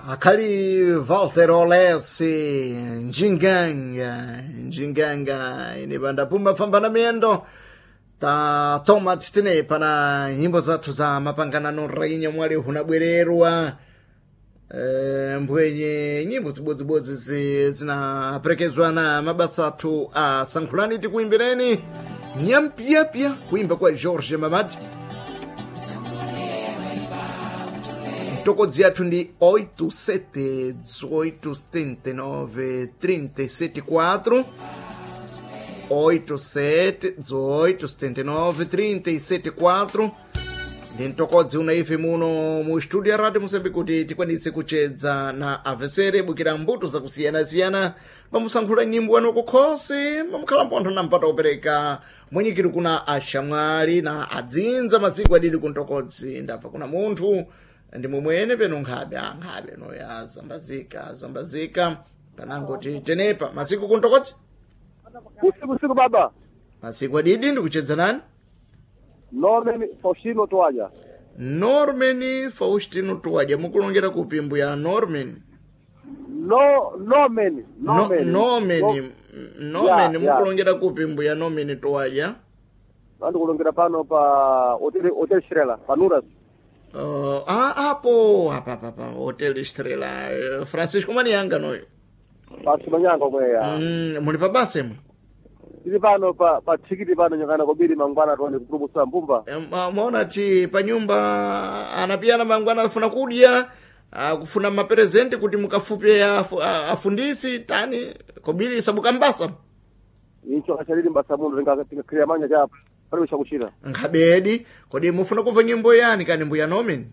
Akali Walter Olesi Njinganga Njinganga inibanda pumba famba na miendo ta toma tine pana nyimbo zathu za mapanganano rainya mwali hunabwererwa mbwenye nyimbo zibodzibodzi zinaperekezwa na mabasa athu a sankhulani tikuimbireni nyampyapya kuimba kwa George Mamadi. Mtokodzi yathu ndi 87 18 79 374, 87 18 79 374 ndi mtokodzi una ife muno mu studio ya Radio Moçambique kuti tikwanise kuchedza na avesere bukira mbuto zakusiyanasiyana pamusankhula nyimbo wanu kukhosi mamukhala mpontho na mpata wopereka mwenyikiro kuna ashamwali na adzinza masiku adidi kuntokodzi. Ndabva kuna munthu ndi momwene peno nkhabe ankhabe noya zambazika zambazika panangoti tenepa masiku kuntokodzi. Usiku usiku baba. Masiku adidi, ndikuchedza nani? Norman Faustino Toaja. Norman Faustino Tuwaja, mukulongera kupi mbuya Norman? No Norman. No, Norman. Norman. No. Norman. Yeah. Mukulongera kupi mbuya Norman Tuwaja? Vandu kulongera pano pa Hotel Estrela, pa Nuras. Apo apa apa apa Hotel Estrela, Francisco Manianga noyo. Pa Simanyanga omweya. Muli pa basa imwe? Tili pano pa tikiti pano nyangana kobiri mangwana tuone kupulumusa mbumba. Maona ti pa nyumba anapiyana mangwana afuna kudya, akufuna maperezenti kuti mukafupe afundisi tani kobiri sabukambasa. Icho achalili mbasa mundu tinga manya chapa. Pali chakuchira. Nkhabedi kodi mufuna kumva nyimbo yani kani mbuya Norman?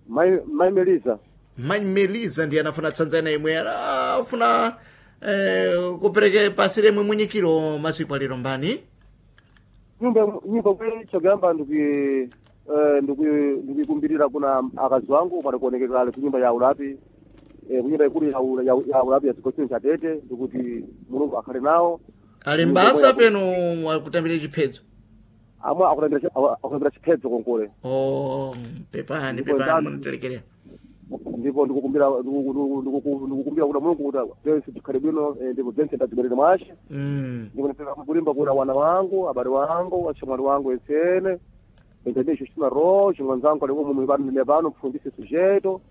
Mai Melisa. Mai Melisa ndiye anafuna tsanzana imwe afuna kupereke pasi remwe mwenyikiro masiku alero mbani. Nyumba kwe chogamba ndikuti ndikuikumbirira kuna akazi wangu pano kuonekera ali kunyumba ya ulapi, kunyumba ikulu ya ulapi ya chikochini cha Tete, ndikuti Mulungu akhale nawo. Ali mbasa peno akutambire chiphedzo. Amwe akutambira chiphedzo konkole. Oh, pepani. Ndipo pepani. Munitelekerera. Ndipo ndikukumbira kuna Mulungu kuti zense tikhale bwino, ndipo zense ndazibwerere mwashe. Ndipo ndipeza kulimba kuna wana wangu, abale wangu, achamwali wangu ensene Benjamin Justina Roche, mwanzangu alikuwa mumu pano pano mfundisi sujeto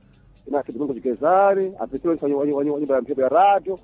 inasi Domingos Gezari apitiwe wa nyumba ya mphepo ya radio.